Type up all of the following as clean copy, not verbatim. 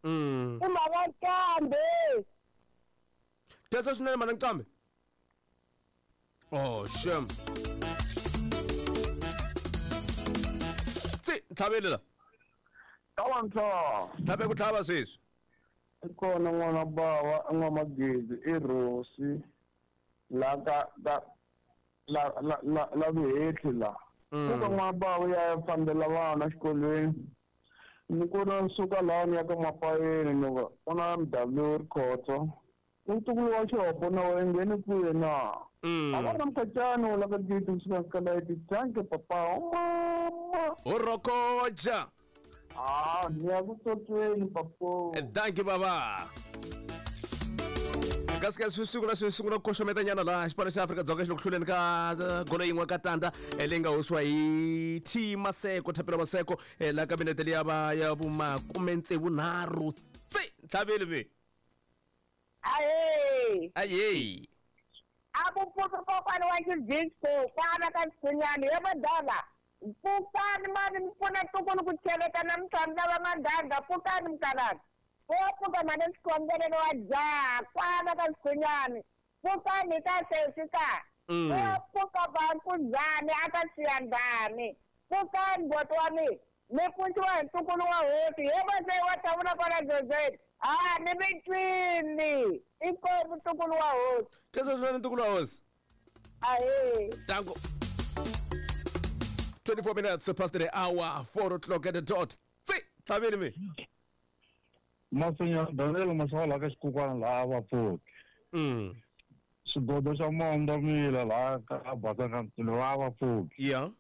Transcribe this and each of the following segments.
I mhaka nqambi. Khensa swinene mana nqambi. Oh, shem. Tsi, ntlhaveli la. Tawantsa. Tlhave ku tlhava sweswi. I kona n'wana bava n'wamagezi i Rosi la ka ka la la la la vuhehli la. Kuka n'wana bava ya fambela vana xikolweni. Ni ku na suka laha ni ya ka Mapayeni ni ku ku na MW Rikhotso. Ntukulu wa xihopo na wena ngheni kwihi na? A va ri na mkhacani wo lava gidi kusuka ka layiti danke papa mama. U rhokoja. Ah, ni ya ku tsotsweni papo. Danke baba. Kasi ka swi sungula swi sungula ku koxometa nyana laha xipano xa Afrika-Dzonga xi le ku hluleni ka golo yin'we ka tanda leyi nga hosiwa hi T Maseko Thapelo Maseko laha ka minete liya va ya vumakume tsevu nharhu tse ntlhaveli ve. Ahee. Ahee. A ku pfuki kokwani wa xidisco kwana ka xikhunyani he madala pfukani mani mi pfuna ntukulu ku cheleta namuntlha mi lava mandhandha pfukani mkalana wo pfuka mhani xikhongelelo wa jaha kwana ka xikhunyani pfukani ka sesi ka wo pfuka vankuzani a ka siyandhani pfukani boti wa mina Mi pfuxiwa hi ntukulu wa hosi. He Maseyi wa thavula kwala Jozeni. Ha, ni mi twini. Inkomu ntukulu wa hosi. Khensa swinene ntukulu wa hosi. Ahee. Tango. 24 minutes past the hour, 4 o'clock at the dot. Tsi, tlhaveni mi. Masinya Daniel Mashala ka xikukwana laha va pfuki. Xigodo xa Mondo Mila laha ka Basanga Mtilo va va pfuki. Yeah.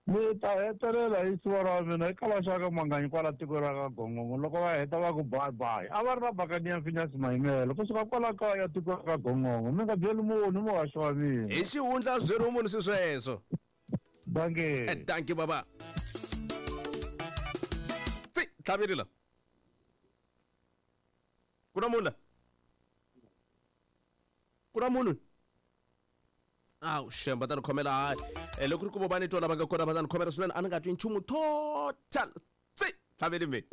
Ni ta hetelela hi siva ra mina eka vaxaka Manganyi kwala tiko ra ka Gongongo loko va heta va ku bye bye. A va ri na Bakaniya Phineas Mayimele kusuka kwala kaya tiko ra ka Gongongo. Mi nga byeli munhu muhaxi wa mina. Hi xihundla swi byeriwi munhu swi sweswo. Dankie. Dankie baba. Tsi, tlhaveli la. Ku na munhu la? Ku na munhu? Awu shem va ta ni khomela hayi. Eh, loko ku ri ku vo va ni twa lava nga kona va ta ni khomela swinene a ni nga twi nchumu total. Tsi, tlhaveli mi.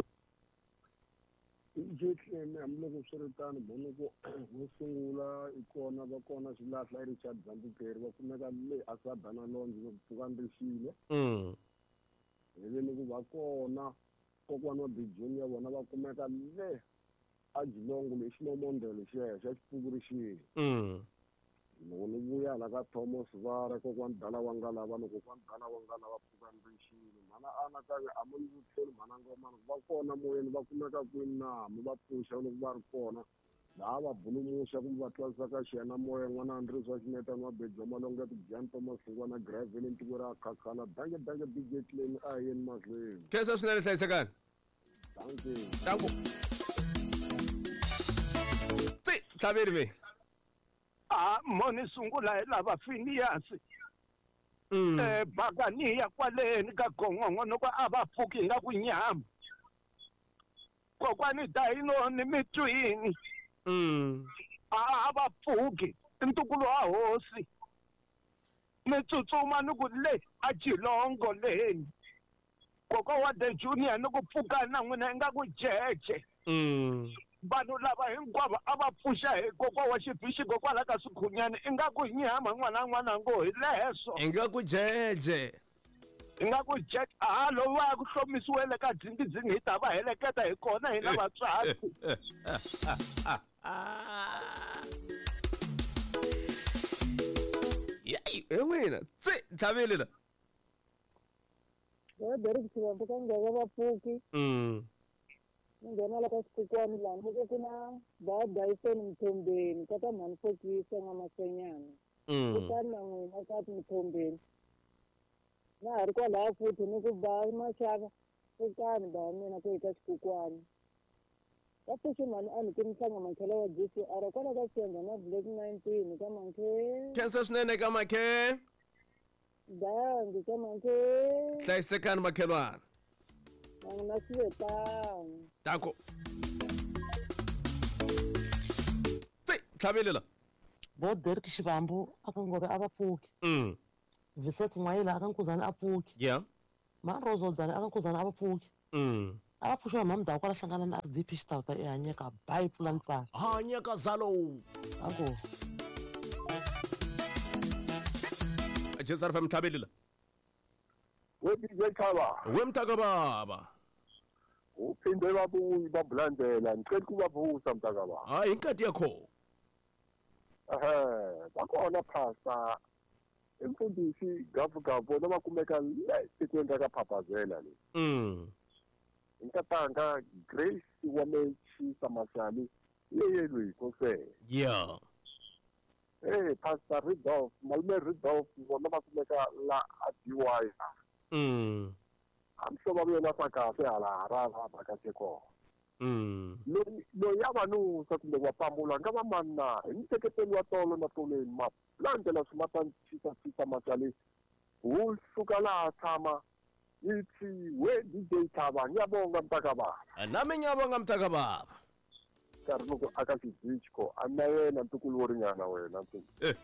DJ Clem hambiloko swi ri tano Bonoko wo sungula i kona va kona xilahla i Richard Zambukeri va kumeka le a Sabana Lounge loko pfuka ni rixile hi ni ku va kona kokwana wa Big Junior vona va kumeka le a Jilongo le ximomondelo xexo xa xipuku rixile loko ni vuya hala ka Thomas Vara kokwani dala wa nga lava ni kokwani dala wa nga lava pfukani rixile mhana anakanya a mi ni vutiseli mhana ngomani va kona moyeni va kumeka kwini na mi va pfuxa loko va ri kona laha va bulumuxa kumbe va twarisa ka xiyana moya n'wana Andries wa Ximetani wa Beji wa Malonga Tibyani Thomas Hlungwana Gravely ntiko ra Khakhala danke danke DJ Clem a hi yeni mahlweni Khensa swinene hlayisekani. Danke. Danko. Tsi, tlhaveli mi. A moni sungula hi lava Phineas. Eh Bakaniya kwaleni ka Gongongo loko a va pfuki nga ku nyama. Kokwani Dino ni mitwini. A va pfuki ntukulu wa hosi. Ni tsutsuma ni ku le a Jilongo leni. Kokwa wa The Junior ni ku pfuka na n'wina ingaku jeje. Vanhu lava hinkwavo a va pfuxa hi kokwa wa xibixi kokwala ka swikhunyani ingaku nyama n'wana n'wana ngo hi leswo. Ingaku jeje. Ingaku jeje a lo va ku hlomisiwele ka dzingi-dzingi hi ta va heleketa hi kona hina vatswari. Yayi, he n'wina tsi ntlhaveli la. He Derek Xivambu ka nghena vapfuki. Ni nghena la ka xikukwani laha ni ku ku na ba Dyson Mthombeni ka ta mhani Fokisa n'wamaswenyana. Kutani na n'wina ka Mthombeni. Na ha ri kwalaya futhi ni ku ba maxava pfukani ba mina ku hi ka xikukwani. Ka pfuxi mhani a ni ku ni hlanga mankhela wa GCR kwala ka Xiyandza na Black 19 ka mankhe. Khensa swinene ka makhe. Dangi ka mankhe. Hlayisekani makhelwana. Na n'wina swi ve tano. Danko. Tsi, tlhaveli la. Bo Derek Xivambu a ka Ngove a va pfuki. Viset N'wayila a ka Nkuzana a pfuki. Yeah. Ma Rose Odzana a ka Nkuzana a va pfuki. A va pfuxiwa hi mamudhawu kwala hlangana na RDP xitarata eHanyeka bayi pfula ntsala. Hanyeka zalo. Danko. Jesar fm tlhabelila. We DJ Khaba. We mntaka baba. Uphinde babuyi babulandela ngicela ukubavusa mntaka baba. Hayi inkathi yakho. Ehhe, bakhona pastor imfundisi gavugavu noma kumeka le tikweni ra ka Phaphazela le. Nkatanga Grace wa Mechisa Masali yeyelwe kose. Yeah. Hey Pastor Rudolph, malume Rudolph vona va kumeka la a DY. I'm sure va vuyela swa kahle hala Harare va vhakache kona. Loyi a va nusa kumbe wa pambula nga va mani na hi nseketelo wa tolo na tolweni malandela swimatana chisa Masali wu suka laha tshama ithi we DJ Thaba ngiyabonga mntakababa. Nami ngiyabonga mntakababa. Nkarhi loko aka xidisco a na yena ntukulu wo ringana wena ntukulu.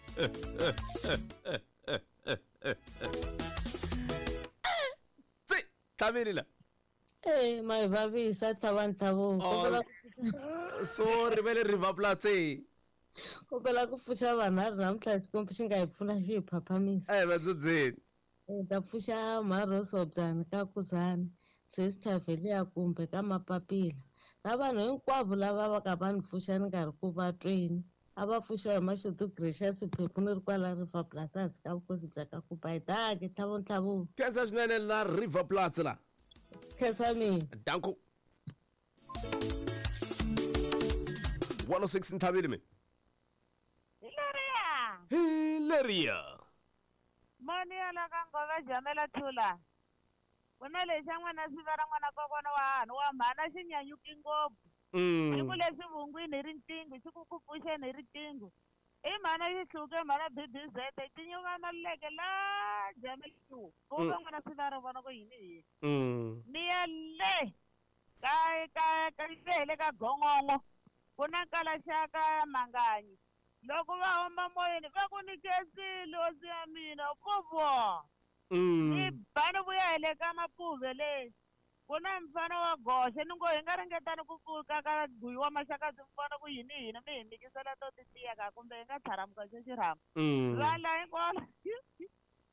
Tsi tlhavelila. Eh my vavisa Thaba Ntlhabo. Sorry vele River Platse. Kopela ku pfuxa vanhu namuntlha xikombi xi nga hi pfuna xi hi phaphamisa. Eh vadzudzeni. Ta pfuxa Mharosobyani ka Kuzani, Sister Velia kumbe ka Mapapila. Na vanhu hinkwavo lava va ka va ni pfuxa ni nga ri ku va tweni. A va pfuxiwa hi Mashudu Gracious Phephu ni ri kwala River Platz hansi ka vukosi bya ka Kubayi. Dankie Thabo Ntlhabo. Khensa swinene la River Platz la. Khensa mina. Danko. 106 Nthabile me. Hilaria. Hilaria. Moni ala ka ngova jamela thula. Kuna lexa n'wana swi ra n'wana kokwana wa hanu wa mhana xi nyanyuki ngopfu. Xi ku leswi vungwini hi riqingho xi ku ku pfuxeni hi riqingho. I mhana xi hluke mhana BBZ tinyuka maluleke la jamela ku va n'wana swi ra vona ku yini yini. Ni ya le ka ka ka le ka gongongo ku na kalaxaka manganyi. Loko va huma moyeni va ku ni khensile hosi ya mina kovo. Ni bani vuya hi le ka mapuve le ku na mfana wa goxe ni ngo hi nga ringetani ku pfuka ka guyi wa maxakadzi mfana ku yini hina mi hi mikisela to titiya ka kumbe hi nga tlharamuka xo xirhama. Va la hinkwavo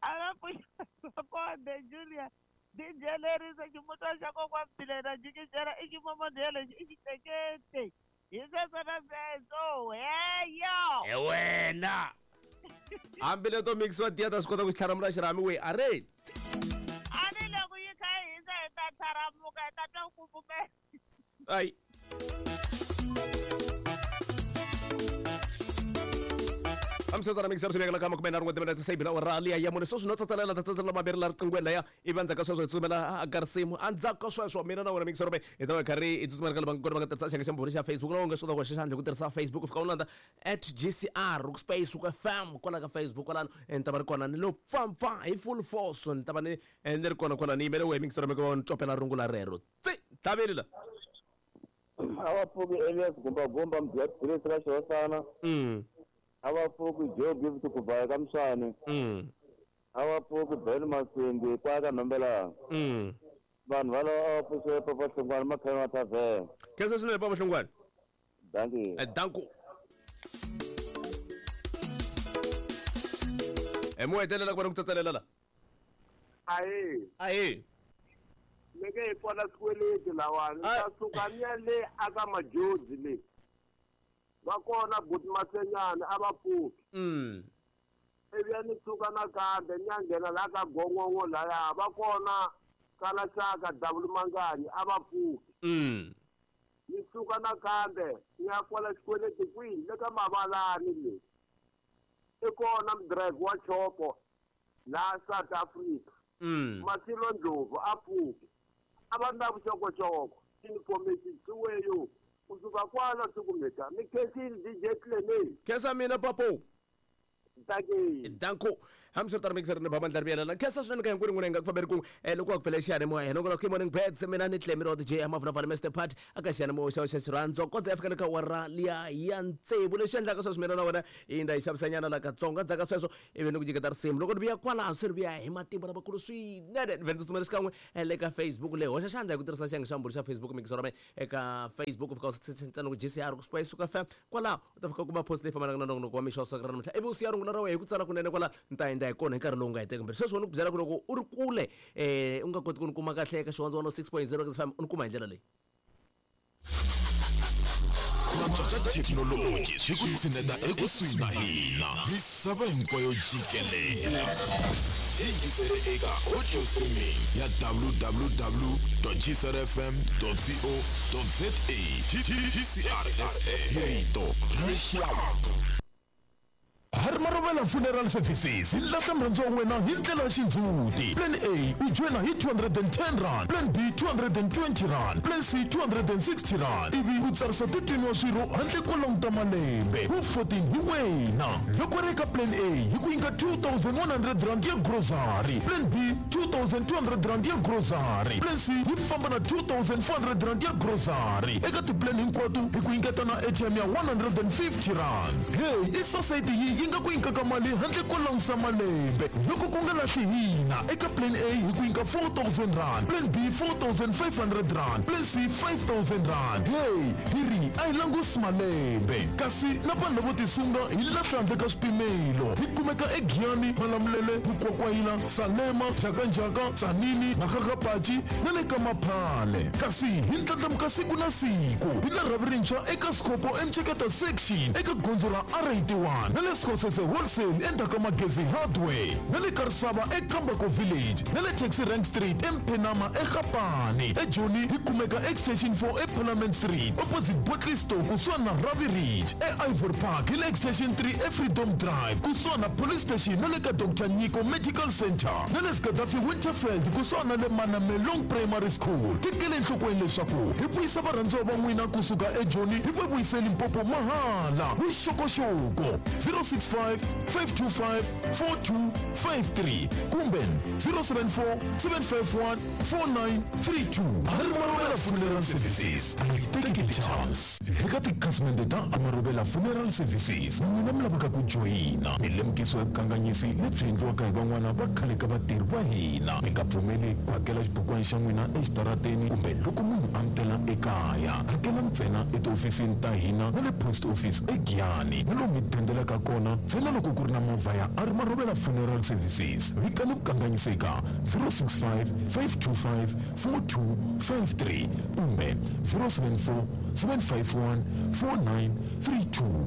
a va pfuxa konde Julia DJ lerisa ximutwa xa kokwa Mbilena jikijela i ximomodelo lexi i xicekete. Hi sweswo na sweswo heyo. He wena. Hambi leto mixiwa tiya ta swi kota ku xi tlharamula xirhami we a re. A ni loko yi kha yi hisa hi ta tlharamuka hi ta twa ku kufumela. Ayi. Amsotana mixer swi vekela ka makume nharhu n'we timinete se bila rali ya mune sweswi no tsatsalela ta tsatsalela mambirhi la riqingweni laya ivi endzhaku ka sweswo hi tsutsumela ka risimu endzhaku ka sweswo mina na wena mixer hi ta va karhi hi tsutsumela ka lava nga kona va nga tirhisa xiyenge xa mbhuri xa Facebook na u nga swi kota ku hoxa xandla hi ku tirhisa Facebook u fika u landza @GCR space FM kwala ka Facebook kwalano ni ta va ri kona ni lo pfampfa hi full force ni ta va ni ni ri kona kwala ni yimele wehe mixer mi ku ni copela rungula rero tsi tlhaveli la. A va pfuki Elias Gumbagumba mudyatirisi ra xihosana. A va pfuki Joe Gift ku baya ka Mswani. A va pfuki Ben Masindi kwaya ka Nombelana. Vanhu valava a va pfuxiwe Papa Hlongwane makhale ma tavhena. Khensa swinene Papa Hlongwane. Dankie. Danko. Mo hetelela ku va ni ku tsatsalela la. Ahe. Ahe. Leke hi pfala swikweleti lawani ta suka ni ya le aka Majozi le. Va kona buti Masenyana a va pfuki. Ivi ya ni suka nakambe ni ya nghena laha ka gongongo laya va kona kalaxaka Davulu Manganyi a va pfuki. Ni suka nakambe ni ya kwala xikweleti kwihi le ka Mavalani le. I kona mudrive wa chopo laha South Africa. Masilo Ndlovu a pfuki. A va na vuxokoxoko information xiweyo. Kusuka kwala sikumeka ni khensile DJ Clene. Khensa mina papo. Dankie. Danko. Hambiswiritano mixer ni baba ndlela vuyela khensa swinene ka hinkwenu n'wina hi nga ku fambeni kun'we loko wa ku pfela xiyanimoya hina ku morning birds mina ni Clemmy Rod J Mavunavana Mr Part aka xiyanimoya xa xa xirhandzo kondza ya fika le ka awara liya ya tsevu. Lexi endlaka sweswi mina na wena hi ndza yi xavisanyana la katsongo endzhaku ka sweswo ivi ni ku nyiketa risimu loko ni vuya kwalaho se ni vuya hi matimba lamakulu swinene ni vhe ndzi tsutsumela xikan'we le ka Facebook leyi hoxa xandla hi ku tirhisa xiyenge xa mbulu xa Facebook mixer wa mina eka Facebook u fika u ntsena ku GCR ku suka yi suka FM kwalaho u ta fika u kuma post leyi fambanaka na nongonoko wa mixo wa siku ra namuntlha ivi u siya rungula ra wena hi ku tsala kunene kwala ni ta endla hi kona hi nkarhi lowu nga heteki mbirhi sweswo ni ku byela ku loko u ri kule u nga koti ku ni kuma kahle eka xihondzo 106.0 FM u ni kuma hi ndlela leyi. Ku thekinoloji swi ku tshineta ekusuhi na hina misava hinkwayo jikelele. Yingisele eka audio streaming ya www.gcrfm.co.za. GCRFM hi rito ra rixaka. Harmarovela Funeral Services hi lahla murhandzi wa wena hi ndlela ya xindzhuti. Plan A u joyina hi 210 rand, Plan B 220 rand, Plan C 260 rand ivi u tsarisa 13 wa swirho handle ko languta malembe. Wu 14 hi wena. Loko ri eka Plan A hi ku nyika 2100 rand ya grocery, Plan B 2200 rand ya grocery, Plan C yi famba na 2400 rand ya grocery. Eka tiplan hinkwato hi ku nyiketa na airtime ya 150 rand. Hey, i society yi yi nga ku nyikaka mali handle ko langusa malembe. Loko ku nga lahli hina eka Plan A hi ku nyika 4000 rand, Plan B 4500 rand, Plan C 5000 rand. Hey, hi ri a hi langusi malembe. Kasi na vanhu lavo tisunga hi lahla handle ka swipimelo. Hi kumeka eGiyani, Malamulele, Mukwakwayila, Salema, Njhakanjhaka, Tzaneen, Makgakgapachi na le ka Maphale. Kasi hi ndlandlamuka siku na siku. Hi na rhavi rintshwa eka Skhopho eMceketa Section eka gondzo ra R81 na le Skhosese Wholesale endzhaku ka Magezi Hardware na le Karisava eKambako Village na le Taxi Rank Street eMphenama eGapane. EJoni hi kumeka Extension 4 eParliament Street opposite Bottle Store kusuhani na Ravi Ridge. E-Ivory Park hi le Extension 3 eFreedom Drive kusuhani na Police Station na le ka Dr Nyiko Medical Center na le Gaddafi Winterfeld kusuhani na le Manamelong Primary School. Tekele enhlokweni leswaku hi vuyisa varhandziwa va n'wina kusuka eJoni hi va vuyise Limpopo mahala. Vuxokoxoko 065 525 4253 kumbe 074 751 4932. Amarobela Funeral Services a yi tekeli chance. Eka tikhasimende ta Amarobela Funeral Services n'wina mi lavaka ku joyina milemukiso ya vukanganyisi lebyi endliwaka hi van'wana va khale ka vatirhi va hina. Mi nga pfumeli ku hakela xibukwana xa n'wina exitarateni kumbe loko munhu a mi tela ekaya. Hakela ntsena etihofisini ta hina na le post office eGiyani na lomu mi dendelaka kona ntsena loko ku ri na movha ya Amarobela Funeral Services. Vikani vukanganyiseka 065 525 4253 kumbe 074 751 4932.